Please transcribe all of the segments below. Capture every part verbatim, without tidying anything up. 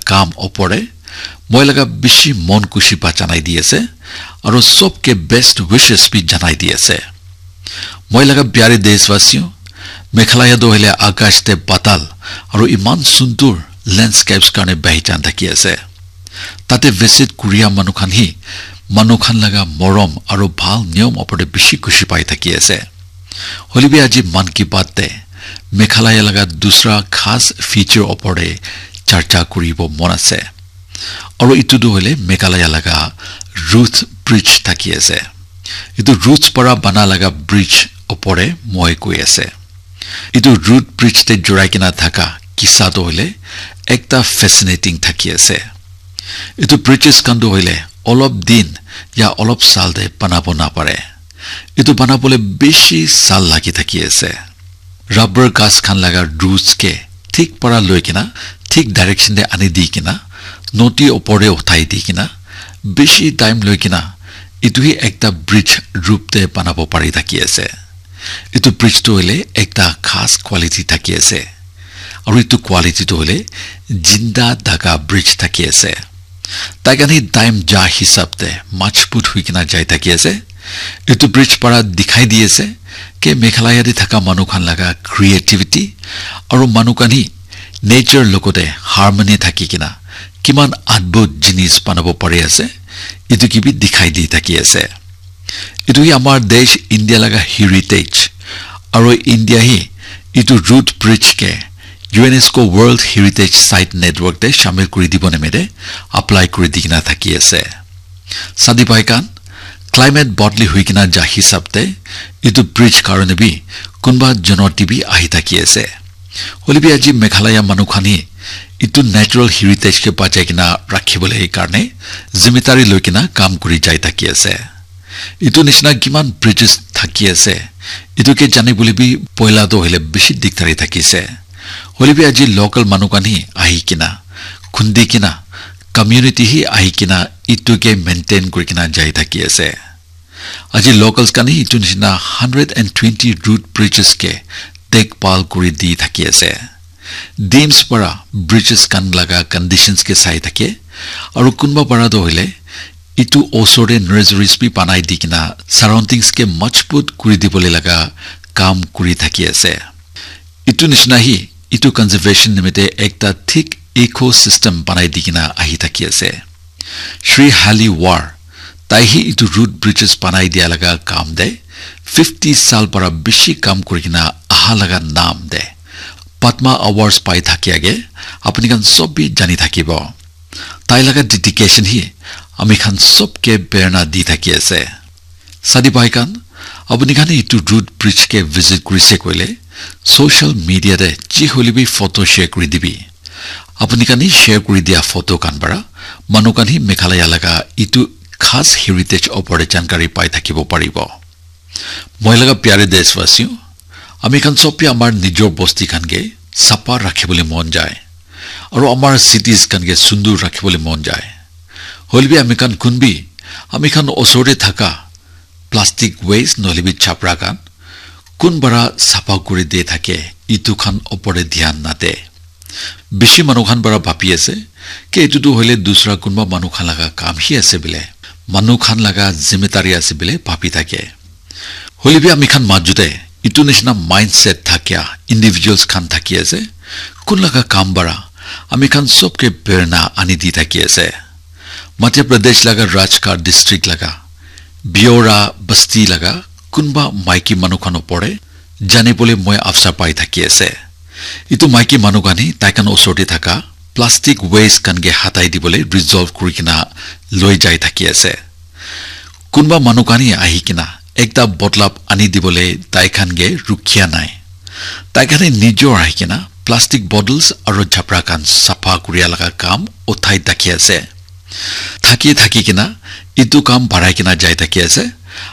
kam opor te moi laga bishi mon khushi pa janai di ase, aro sobke best wishes bi janai di ase. Moi laga pyare deshwasiyo, Meghalaya toh hoile akash te patal aro iman sundur landscapes karne bahijan thaki ase. Tate visit kuria manu khan hi manu khan laga morom aro bhal niyom opor te bishi khushi pai thaki ase. Hoilebi aji Mann Ki Baat te Meghalaya laga dusra khas feature opor te charcha kuribo mon ase. Aro itu tu hoile Meghalaya laga Root Bridge thaki ase. Itu roots para bana laga bridge opor te moi koi ase. Itu root bridge te jurai kena thaka kisa tu hoile ekta fascinating thaki ase. Itu bridges khan tu hoile olop din ya olop sal te banabo napare. Itu banabole bishi sal lagi thaki ase. Rubber ghas khan laga roots ke thik para loi kena thik direction te ani di kena nodi opor te uthai di kena bishi time loi kena itu hi ekta bridge roop te banabo pari thaki ase. Itu bridge tu hoile ekta khas quality thaki ase. Aru itu quality tu hoile jinda daga bridge thaki ase. Tai khan hi time ja hisab te majbut hui kena jai thaki ase. Itu bridge para dikhai di ase ke Meghalaya te thaka manu khan laga creativity aru manu khan hi nature logote harmony thaki kena kiman adbhut jinis banabo pari ase. Itu ki bi dikhai di thaki ase. Itu hi amar desh India laga heritage. Aru India hi itu root bridge ke UNESCO World Heritage Site Network te shamil kuri dibo nimite apply kuri di kena thaki ase. Sadi bhai khan, climate bodli hui kena ja hisab te itu bridge karone bi kunba janoti bi ahi thaki ase. Hoilebi aji Meghalaya manu khan hi itu natural heritage ke bachai kena rakhibole karne zimmetari loi kena kam kuri jai thaki ase. Itu nishina kiman bridges thaki ase, itu ke jani bole bi poila tu hoile bishi dikdari thaki ase. Hoilebi aji local manu khan hi ahi kena, khundi kena, community hi ahi kena itu ke maintain kuri kena jai thaki ase. Aji locals khan hi itu nishina hundred and twenty root bridges ke dekbhal kuri di thaki ase. Dims para bridges khan laga conditions ke sai thake, aru kunba para tu hoile itu osor te nurseries bi banai di kena surroundings ke majbut kuri dibole laga kam kuri thaki ase. Itu nishina hi itu conservation nimite ekta thik ecosystem banai di kena ahi thaki ase. Shri Hali War, tai hi itu root bridges banai dia laga kam te fifty sal para bishi kam kuri kena aha laga naam te Padma Awards pai thaki age, apuni khan sob bi jani thakibo. Tai laga dedication hi ami khan sob ke prerna di thaki ase. Sadi bhai khan, apuni khan itu root bridge ke visit kurise koile, social media te ji hoile bi photo share kuri dibi. Apuni khan hi share kuri dia photo khan para, manu khan hi Meghalaya laga itu khas heritage opor te jankari pai thakibo paribo. Moi laga pyare deshwasiyo, ami khan sob bi amar nijor bosti khan ke sapa rakhibole mon jai. Aru amar cities khan ke sundur rakhibole mon jai. Hoilebi ami khan kunbi, ami khan osor te thaka plastic waste nohole bi chapra khan kun bara sapa kuri de thake, itu khan opor te dhyan nade. Bishi manu khan bara bhabi ase ke itu tu hoile dusra kunba manu khan laga kam hi ase bile, manu khan laga zimmetari ase bile bhabi thake. Hoilebi ami khan majute itu nishina mindset thakia individuals khan thaki ase, kun laga kam bara ami khan sobke prerna ani di thaki ase. Madhya Pradesh laga Rajgarh district laga Biora basti laga kunba maiki manu khan opor te jani bole moi afsar pai thaki ase. Itu maiki manu khan hi tai khan osor te thaka plastic waste khan ke hatai dibole resolve kuri kena loi jai thaki ase. Kunba manu khan hi ahi kena ekta botlap ani dibole tai khan ke rukhiya nai. Tai khan hi nijor ahi kena plastic bottles aro jhabra khan sapha kuria laga kam uthai thaki ase. Thaki thaki kena itu kam barai kena jai thaki ase.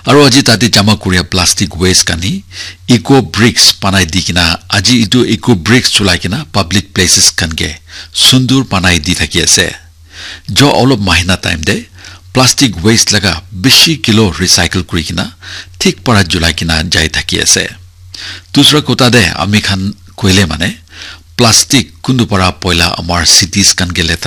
Aro aji tate jama kuria plastic waste khan hi eco bricks banai di kena aji itu eco bricks chulai kena public places khan ke sundur banai di thaki ase. Jo olop mahina time te plastic waste laga bishi kilo recycle kuri kena thik para julai kena jai thaki ase. Dusra kotha te ami khan koile mane plastic kuntu para poila amar cities khan ke letera